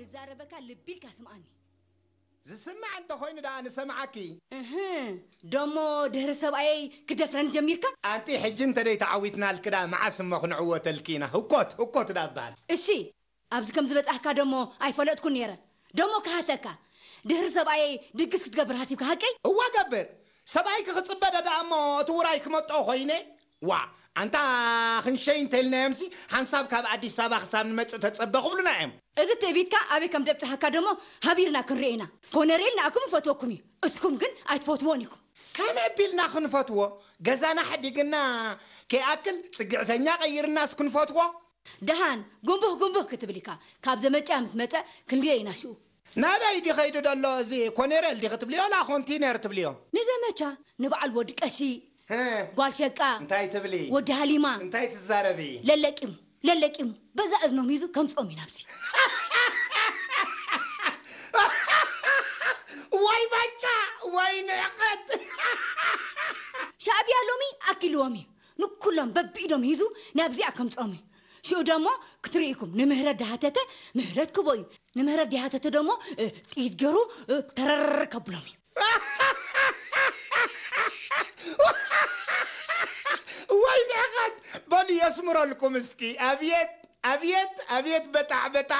ዝዛረበካ ልቢ ኢልካ ስምዓኒ። ዝስማዕ እንተኾይኑ ደኣ ንሰምዓኪ። እህ፣ ደሞ ድሕሪ ሰብኣየይ ክደፍረኒ ጀሚርካ? ኣንቲ ሕጂ እንተ ደይ ተዓዊትናልኪ ደኣ መዓስ እሞ ክንዕወተልኪ ኢና? ህኮት፣ ህኮት ደኣ እበሃል። እሺ፣ ኣብዚ ከም ዝበጻሕካ ደሞ ኣይፈለጥኩን ነይረ። ደሞ ክሃተካ፣ ድሕሪ ሰብኣየይ ድግስ ክትገብር ሃሲብካ ሃቀይ? እዋ ገብር። ሰብኣይኪ ክጽበ ደኣ እሞ እቲ ውራይ ክመጦ ኮይነ? ዋ፣ ኣንታ ክንሸይ እንተልናዮምሲ ሓንሳብ ካብ ኣዲስ ኣበባ ክሳብ ንመጽእ ተጸበ ክብሉና እዮም። እዚ ትዕቢትካ ኣበይ ከም ደብጽሓካ ደሞ ሃቢርና ክንርኢ ኢና። ኮነሬል ንኣኩም ይፈትወኩም እዩ፣ እስኩም ግን ኣይትፈትዎን ኢኩም። ከመይ ኣቢልና ክንፈትዎ? ገዛና ሓዲግና ከይኣክል ጽግዕተኛ ቀይርናስ ክንፈትዎ? ደሃን ጉንቡህ ጉንቡህ ክትብል ኢካ። ካብ ዘመጽያ ምስ መጸ ክንሪኦ ኢና ሽኡ። ናበይ ድዩ ከይዱ ደሎ እዚ ኮነሬል ድዩ ክትብልዮ ላ ኮንቲነር ትብልዮ? ንዘመቻ ንበዓል ወዲ ቀሺ፣ ጓል ሸቃ፣ እንታይ ትብሊ? ወዲ ሃሊማ እንታይ ትዛረቢ? ለለቂሙ ለለቂሙ በዛ እዝኖም ሂዙ ከምጾም እዩ ናብዚ። ወይ ባጫ ወይ ንዕቐት። ሻዕብያ ሎሚ ኣኪልዎም እዩ። ንኩሎም በቢኢዶም ሂዙ ናብዚኣ ከምጾም እዩ። ሽኡ ደሞ ክትርኢ ኢኩም ንምህረት ዳሃተተ ምህረት ክቦ እዩ። ንምህረት ዳሃተተ ደሞ እ፣ ጥይት ገሩ እ፣ ተረር ከብሎም እዩ። ወይ ንዕቐት። በሉ የስምረልኩም እስኪ። ኣብየት ኣብየት ኣብየት በጣዕ በጣዕ።